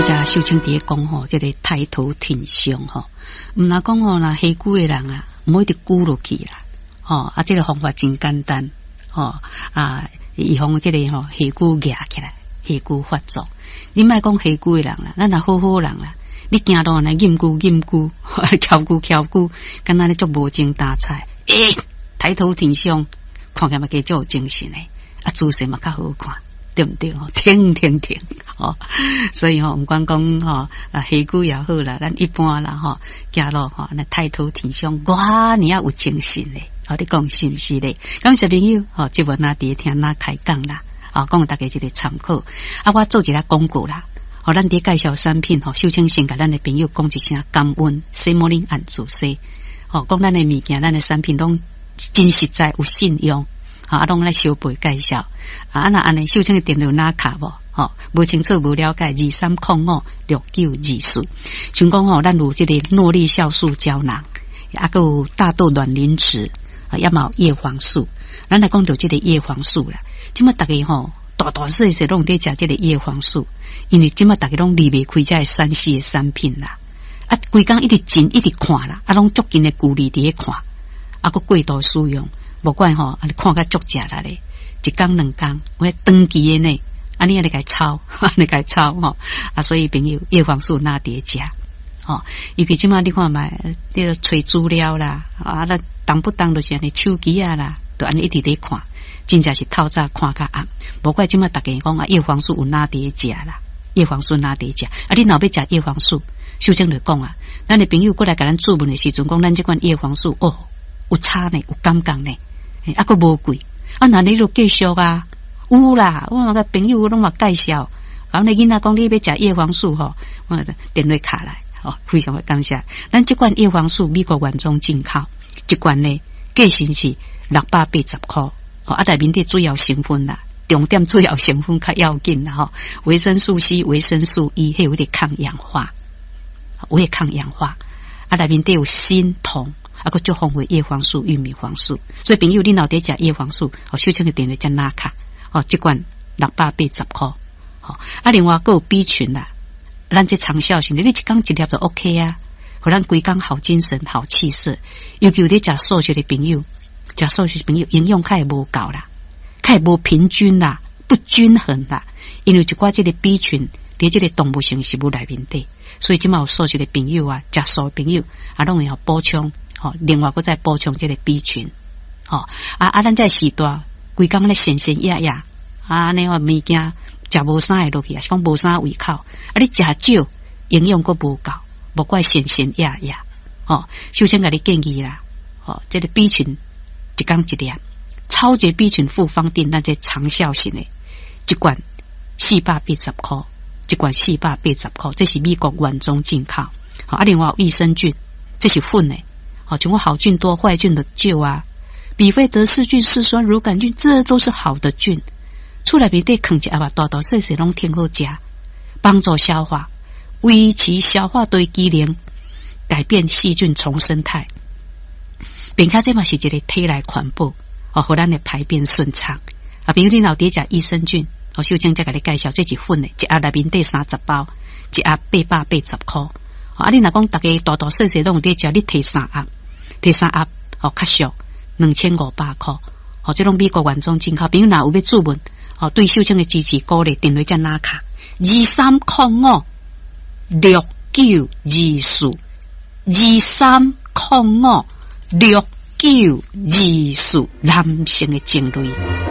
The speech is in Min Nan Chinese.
才秀清佇咧講吼，這个抬頭挺胸吼，毋若講吼，若下久的人啊，毋好一直龜落去啦，吼啊，這个方法真簡單，吼啊，預防這个吼下龜夯起來，下龜發作。你莫講下龜的人啦，咱若好好人啦，你行路來踮龜踮龜，翹龜翹龜，敢若咧足無精打采，欸，抬頭挺胸，看起來嘛加足有精神的，啊，姿勢嘛較好看。對毋對？吼，挺挺挺，吼，所以吼，毋管講吼啊，下龜也好啦，咱一般啦吼，行路吼，那抬頭挺胸，哇，爾有精神咧，吼，你講是毋是咧？感謝朋友，吼，節目若佇咧聽咱開講啦，啊，講予大家一个參考。啊，我做一下廣告啦，吼，咱佇介紹產品吼，秀清先共咱的朋友講一聲感恩，洗莫恁按自洗，吼，講咱的物件，咱的產品攏真實在，有信用。啊，攏來相背介紹。啊，若按呢，秀清的電話哪卡無？吼，無清楚無了解，23056924。像講吼，咱有這个諾麗酵素膠囊，啊，閣有大豆卵磷脂，啊，也嘛有葉黃素。咱來講著這个葉黃素啦，這馬逐家吼，大大細細攏佇食這个葉黃素，因為這馬逐家攏離袂開這个3C 的產品啦。啊，規工一直進一直看啦，啊，攏足近的距離佇咧看，啊，閣過度使用。無怪吼，啊，你看甲足食力咧，一工兩工，有長期的呢，啊，你按呢共操，按呢共操吼，啊，所以朋友葉黃素若佇咧食，吼，尤其這馬你看覓，這个揣資料啦，啊，那動不動就是按呢手機啊啦，就按呢一直咧看，真正是透早看較暗。無怪這馬逐家講啊，葉黃素有哪佇咧食啦，葉黃素若佇咧食，啊，你若欲食葉黃素，秀清就講啊，咱的朋友過來共咱諮問的時陣，講咱這款葉黃素哦，有差呢，有感覺呢。啊，閣無貴，啊，那你就繼續啊，有啦，我個朋友攏嘛介紹，然後那囡仔講你欲食葉黃素吼，我電話敲來，吼，非常的感謝。咱這款葉黃素美國原裝進口，這罐呢價錢是680箍，吼，啊，內面底主要成分啦，重點主要成分較要緊啦，吼，維生素 C、維生素 E，彼有咧抗氧化，有咧抗氧化，啊，內面底有鋅、銅。啊，閣足豐富葉黃素、玉米黃素，所以朋友你若佇食葉黃素，哦，秀清的電話才拿卡，哦，這罐680箍，吼，啊，另外閣有 B 群啦，咱這長效型的，你一工一粒就 OK 啊，予咱規工好精神、好氣色。尤其有佇食素食的朋友，食素食的朋友營養較會無夠啦，較會無平均啦，不均衡啦，因為一寡這个 B 群佇這个動物性食物內面底，所以這馬有素食的朋友啊，食素的朋友啊，攏會予補充。吼，另外閣再補充這个 B 群，吼啊啊！咱這時代規工咧閒閒掖掖，啊，按呢話物件食無啥會落去，抑是講無啥胃口，啊，你食少，營養閣無夠，無怪閒閒掖掖，吼，首先共你建議啦，吼，這个 B 群一工一粒，超級 B 群複方錠，咱這長效型的，一罐480箍，一罐四百八十箍，這是美國原裝進口，吼啊，另外有益生菌，這是粉的。好，像我好菌多，壞菌就少啊。比菲德氏菌、嗜酸乳桿菌，這都是好的菌。厝內面底囥一盒啊，大大細細攏挺好食，幫助消化，維持消化的機能，改變細菌叢生態，並且這嘛是一个體內環保，哦，予咱的排便順暢。啊，比如你若佇食益生菌，我秀清才共你介紹，這是粉的，一盒內面底30包，一盒880箍。啊，你若講逐家大大細細攏有佇食，你提三盒。提三盒，吼較俗，2500箍，吼，這攏美國原裝進口。朋友若有欲諮問，吼，對秀清的支持鼓勵，電話才拿卡，23056924，23056924，男性的情侶。